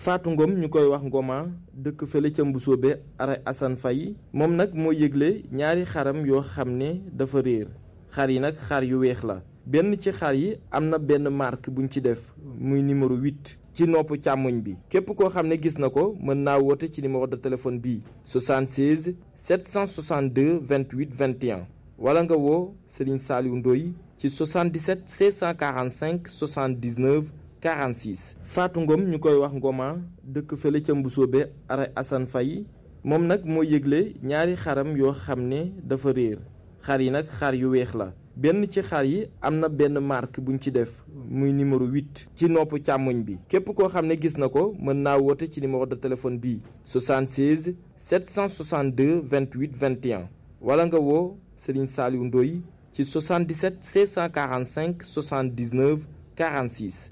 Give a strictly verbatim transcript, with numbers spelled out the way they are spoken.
Fatou Ngom ñu koy wax Ngoma dëkk fële ca Mbusoobe ara Assane Faye moom nag moo yëgle ñaari xaram yoo xam ne dafa réer xar yi nag xar yu weex la benn ci xar yi am na benn marque buñ ci def muy numéro huit ci nopp càmmoñ bi képp koo xam ne gis na ko mën naa woote ci numéro de téléphone bii soixante-seize sept cent soixante-deux vingt-huit vingt et un wala nga woo Serigne Saliou Ndoye ci soixante-dix-sept six cent quarante-cinq soixante-dix-neuf quarante-six. Fatou Ngom ñu koy wax Ngoma dëkk fële ca Mbusoobe ara Assane Faye moom nag moo yëgle ñaari xaram yoo xam ne dafa réer xar yi nag xar yu weex la benn ci xar yi am na benn marque buñ ci def muy numéro huit ci nopp càmmoñ bi képp koo xam ne gis na ko mën naa woote ci numéro de téléphone bii soixante-seize sept cent soixante-deux vingt-huit vingt et un wala nga woo Serigne Saliou Ndoye ci soixante-dix-sept six cent quarante-cinq soixante-dix-neuf quarante-six.